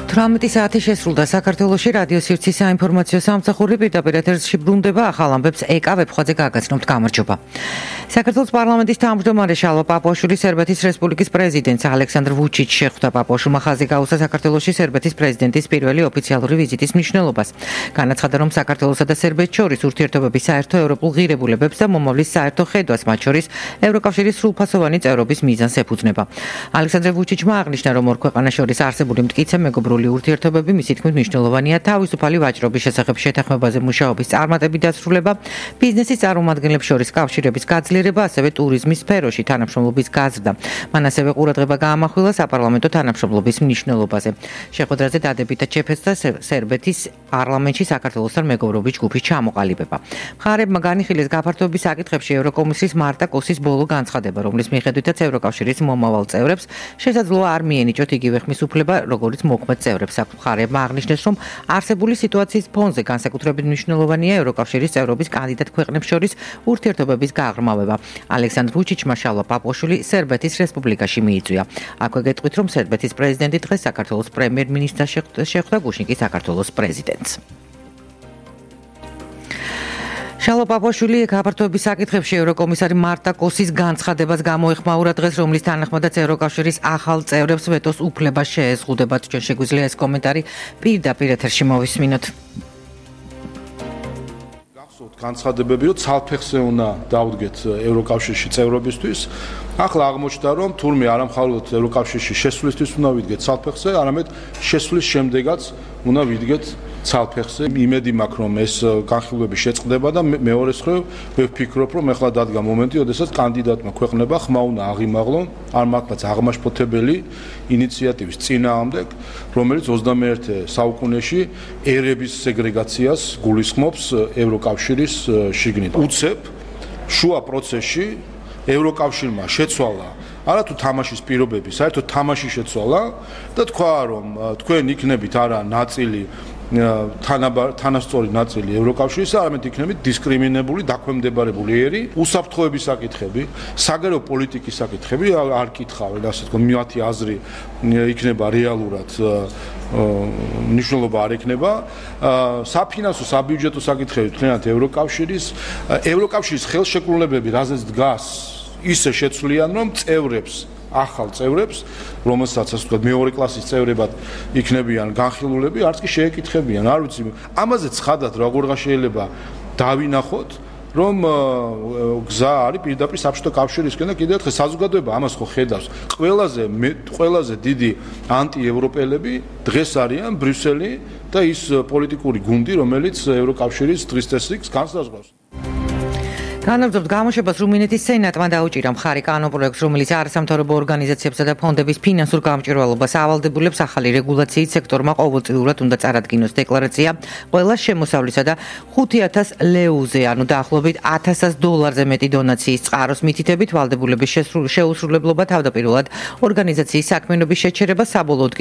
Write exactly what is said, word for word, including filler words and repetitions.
თხუთმეტი საათი შესრულდა საქართველოში რადიო სივრცის საინფორმაციო სამსახური პირდაპირ ეთერში ბრუნდება ახალ ამბებს ეკა ვებხვაძე გაგაცნობთ გამარჯობა. საქართველოს პარლამენტის თავმჯდომარე შალვა პაპუაშვილი სერბეთის რესპუბლიკის პრეზიდენტს ალექსანდრ ვუჩიჩს შეხვდა. პაპუაშვილმა ხაზი გაუსვა საქართველოში სერბეთის პრეზიდენტის პირველი ოფიციალური ვიზიტის მნიშვნელობას. განაცხადა, რომ საქართველოსა და სერბეთს შორის ურთიერთობების საერთო ევროპულ ღირებულებებს და მომავლის საერთო ხედვას, მათ შორის ევროკავშირის სრულფასოვანი წევრობის მიზანს ეფუძნება. ალექსანდრ ვუჩიჩმა აღნიშნა, რომ ორ ქვეყანას შორის არსებული მტკიცე მეგობრული ურთიერთობები მისი თქმით მნიშვნელოვანია თავისუფალი ვაჭრობის შესახებ შეთანხმებაზე მუშაობის წარმატებით დასრულება, ბიზნესის წარმომადგენლებს შორის კავშირების გაძლიერება, ასევე ტურიზმის სფეროში თანამშრომლობის გაზრდა. მან ასევე ყურადღება გაამახვილა საპარლამენტო თანამშრომლობის მნიშვნელობაზე. შეხვედრაზე დადებითად შეფასდა სერბეთის პარლამენტში საქართველოსთან მეგობრობის ჯგუფის ჩამოყალიბება. მხარეებმა განიხილეს გაფართოების საკითხებში ევროკომისიის მარტა კოსის ბოლო განცხადება, რომლის მიხედვითაც ევროკავშირის მომავალ წევრებს შესაძლოა არ მიენიჭოთ იგივე ხმის უფლება, როგორც მოქმედ წევრებს. მხარეებმა აღნიშნეს, რომ არსებული სიტუაციის ფონზე განსაკუთრებით მნიშვნელოვანია ევროკავშირის წევრობის კანდიდატ ქვეყნებს შორის ურთიერთობების გაღრმავება. ალექსანდრ ვუჩიჩმა შალვა პაპუაშვილი სერბეთის რესპუბლიკაში მიიწვია. აქვე გეტყვით, რომ სერბეთის პრეზიდენტი დღეს საქართველოს პრემიერ-მინისტრს შეხვდა, გუშინ კი საქართველოს პრეზიდენტს. შალვა პაპუაშვილი გაფართოების საკითხებში ევროკომისარი მარტა კოსის განცხადებას გამოეხმაურა დღეს, რომლის თანახმადაც ევროკავშირის ახალ წევრებს ვეტოს უფლება შეეზღუდებათ. ჩვენ შეგვიძლია ეს კომენტარი პირდაპირ ეთერში მოვისმინოთ. გახსოვთ განცხადებები, რომ ცალფეხზე უნდა დავდგეთ ევროკავშირში წევრობისთვის. ახლა აღმოჩნდა, რომ თურმე არა მხოლოდ ევროკავშირში შესვლისთვის უნდა ვიდგეთ ცალფეხზე, არამედ შესვლის შემდეგაც უნდა ვიდგეთ ცალფეხზე. იმედი მაქვს, რომ ეს განხილვები შეწყდება და მეორეს მხრივ ვფიქრობ, რომ ახლა დადგა მომენტი, როდესაც კანდიდატმა ქვეყნება ხმა უნდა აღიმაღლონ არ მართლაც აღმაშფოთებელი ინიციატივის წინააღმდეგ, რომელიც ოცდამეერთე საუკუნეში ერების სეგრეგაციას გულისხმობს ევროკავშირის შიგნით. უცებ შუა პროცესში ევროკავშირმა შეცვალა არა თუ თამაშის პირობები, საერთოდ თამაში შეცვალა და თქვა, რომ თქვენ იქნებით არა ნაწილი თანასწორი ნაწილი ევროკავშირის, არამედ იქნებით დისკრიმინებული, დაქვემდებარებული ერი, უსაფრთხოების საკითხები, საგარეო პოლიტიკის საკითხები არ კითხავენ, ასე თქო, მათი აზრი იქნება რეალურად მნიშვნელობა არ ექნება. საფინანსო, საბიუჯეტო საკითხები თქვენად ევროკავშირის, ევროკავშირის ხელშეკრულებები, რაზეც დგას, ისე შეცვლიან, რომ წევრებს ახალ წევრებს, რომელსაც ასე ვთქვათ, მეორე კლასის წევრებად იქნებიან განხილულები, არც კი შეეკითხებიან. არ ვიცი, ამაზე ცხადად როგორ შეიძლება დავინახოთ, რომ გზა არის პირდაპირ საბჭოთა კავშირისკენ და კიდევ ერთხელ საზოგადოება ამას ხო ხედავს. ყველაზე ყველაზე დიდი ანტიევროპელები დღეს არიან ბრიუსელი და ის პოლიტიკური გუნდი, რომელიც ევროკავშირის დღის წესრიგს განსაზღვრავს. განაგრძობთ გამოშვებას, რუმინეთის სენატმა დაუჭირა მხარი კანონპროექტს, რომელიც არასამთავრობო ორგანიზაციებსა და ფონდების ფინანსურ გამჭვირვალობას ავალდებულებს ახალი რეგულაციით სექტორმა ყოველწლიურად უნდა წარადგინოს დეკლარაცია ყველა შემოსავლისა და ხუთი ათას ლეუზე, ანუ დაახლოებით ათასას დოლარზე მეტი დონაციის წყაროს მითითებით ვალდებულების შეუსრულებლობა თავდაპირველად ორგანიზაციის საქმიანობის შეჩერება საბოლოოდ კი